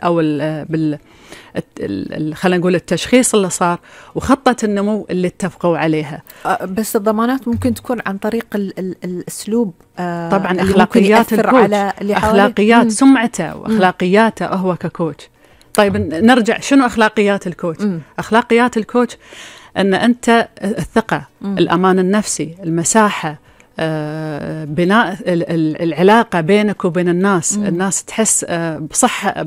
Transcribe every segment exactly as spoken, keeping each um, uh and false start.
أو ال بال خلينا نقول التشخيص اللي صار وخطة النمو اللي اتفقوا عليها. بس الضمانات ممكن تكون عن طريق ال ال الأسلوب آه طبعا أخلاقيات الكوتش، أخلاقيات سمعته وأخلاقياته هو ككوتش. طيب نرجع، شنو أخلاقيات الكوتش؟ م. أخلاقيات الكوتش أن أنت الثقة، م. الأمان النفسي، المساحة، آه، بناء العلاقة بينك وبين الناس، م. الناس تحس آه، بصحة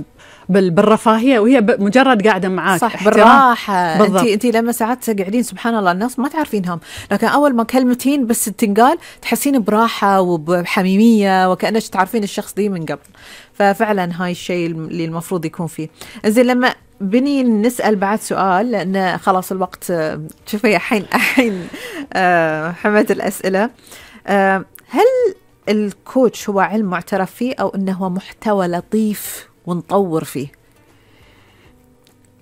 بالرفاهية وهي مجرد قاعدة معاك، صح، بالراحة. انت انت لما ساعات قاعدين سبحان الله الناس ما تعرفينهم، لكن اول ما كلمتين بس تنقال تحسين براحة وبحميمية وكأنك تعرفين الشخص دي من قبل. ففعلا هاي الشيء اللي المفروض يكون فيه. زين، لما بني نسأل بعد سؤال لأن خلاص الوقت شوفي الحين الحين آه حمد الأسئلة. آه هل الكوتش هو علم معترف فيه أو إنه هو محتوى لطيف ونطور فيه؟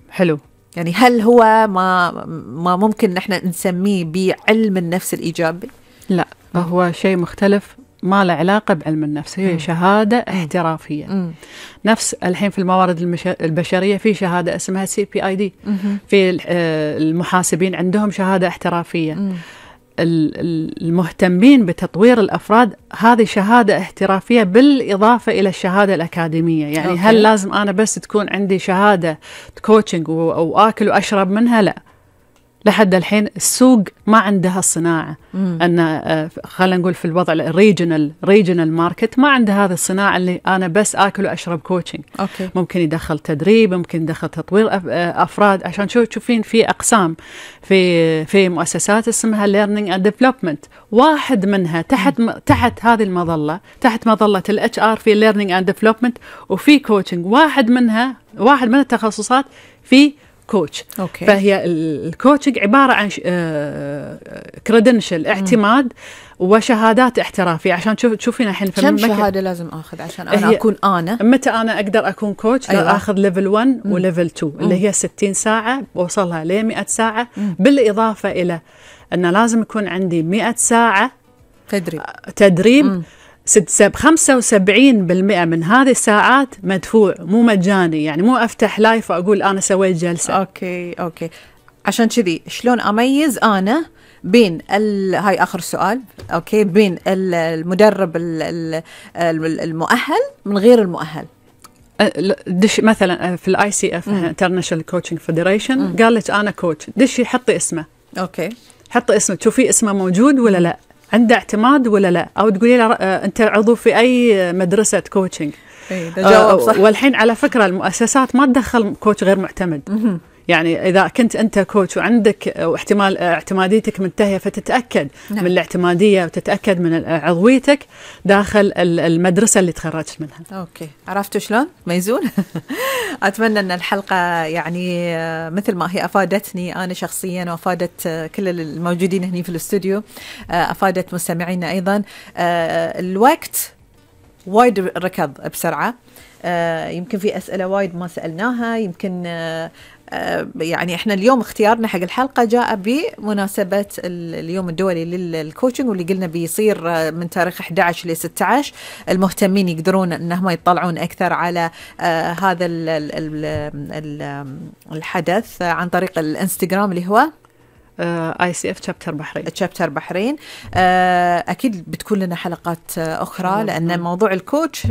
حلو. يعني هل هو ما ما ممكن نحن نسميه بعلم النفس الإيجابي؟ لا، هو شيء مختلف، ما له علاقة بعلم النفس، هي شهادة احترافية. م. نفس الحين في الموارد البشرية في شهادة اسمها سي بي آي دي، في المحاسبين عندهم شهادة احترافية. م. المهتمين بتطوير الأفراد هذه شهادة احترافية بالإضافة إلى الشهادة الأكاديمية. يعني أوكي. هل لازم أنا بس تكون عندي شهادة كوتشنج وآكل وأشرب منها؟ لا، لحد الحين السوق ما عندها الصناعة. مم. أن خلينا نقول في الوضع الريجنال ريجنال ماركت ما عنده هذه الصناعة اللي أنا بس آكل وأشرب كوتشنج. أوكي. ممكن يدخل تدريب، ممكن يدخل تطوير أفراد، عشان شو تشوفين في أقسام في في مؤسسات اسمها learning and development، واحد منها تحت م. تحت هذه المظلة، تحت مظلة ال إتش آر في learning and development وفي كوتشنج، واحد منها واحد من التخصصات في كوتش. أوكي. فهي الكوتشنج عبارة عن كريدنشل، اعتماد وشهادات احترافية. عشان تشوف تشوفين الحين كم شهادة لازم أخذ عشان أنا أكون أنا متى أنا أقدر أكون كوتش؟ أيوة. لو أخذ ليفل واحد وليفل اثنين اللي هي ستين ساعة وصلها ل مئة ساعة. مم. بالإضافة إلى أن لازم يكون عندي مئة ساعة تدريب تدريب. مم. خمسة وسبعين بالمئة من هذه الساعات مدفوع، مو مجاني. يعني مو أفتح لايف وأقول أنا سويت جلسة. أوكي أوكي. عشان كذي شلون أميز أنا بين ال... هاي آخر سؤال، أوكي، بين المدرب المؤهل من غير المؤهل؟ دش مثلا في الاي سي اف انترناشونال كوتشنج فيدريشن، قال لك أنا كوتش، دشي حطي اسمه. أوكي، حطي اسمه، تشوفي اسمه موجود ولا لا، عنده اعتماد ولا لا، أو تقولي له أنت عضو في أي مدرسة كوتشنج. آه والحين على فكرة المؤسسات ما تدخل كوتش غير معتمد. يعني إذا كنت أنت كوتش وعندك احتمال اعتماديتك منتهية فتتأكد. نعم. من الاعتمادية وتتأكد من عضويتك داخل المدرسة اللي تخرجت منها. أوكي، عرفتوا شلون ميزون؟ أتمنى أن الحلقة يعني مثل ما هي أفادتني أنا شخصيا وأفادت كل الموجودين هنا في الاستوديو، أفادت مستمعينا أيضا. الوقت وايد ركض بسرعة، يمكن في أسئلة وايد ما سألناها، يمكن يعني احنا اليوم اختيارنا حق الحلقة جاء بمناسبة اليوم الدولي للكوتشنج، واللي قلنا بيصير من تاريخ أحد عشر ل ستة عشر. المهتمين يقدرون انهم يطلعون اكثر على آه هذا ال ال ال الحدث عن طريق الانستغرام اللي هو اي سي اف تشابتر بحرين. تشابتر بحرين. آه اكيد بتكون لنا حلقات آه اخرى، لان موضوع الكوتش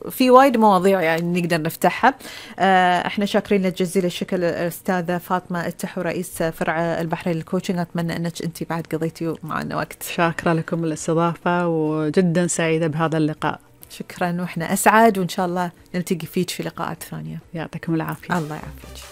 في وايد مواضيع يعني نقدر نفتحها. آه احنا شاكرين لك جزيل الشكر الاستاذه فاطمه التحو، رئيس فرع البحرين للكوتشنج. اتمنى انك انت بعد قضيتي معنا وقت. شاكره لكم الاستضافه وجدا سعيده بهذا اللقاء. شكرا، واحنا اسعد، وان شاء الله نلتقي فيك في لقاءات ثانيه. يعطيكم العافيه. الله يعافيك.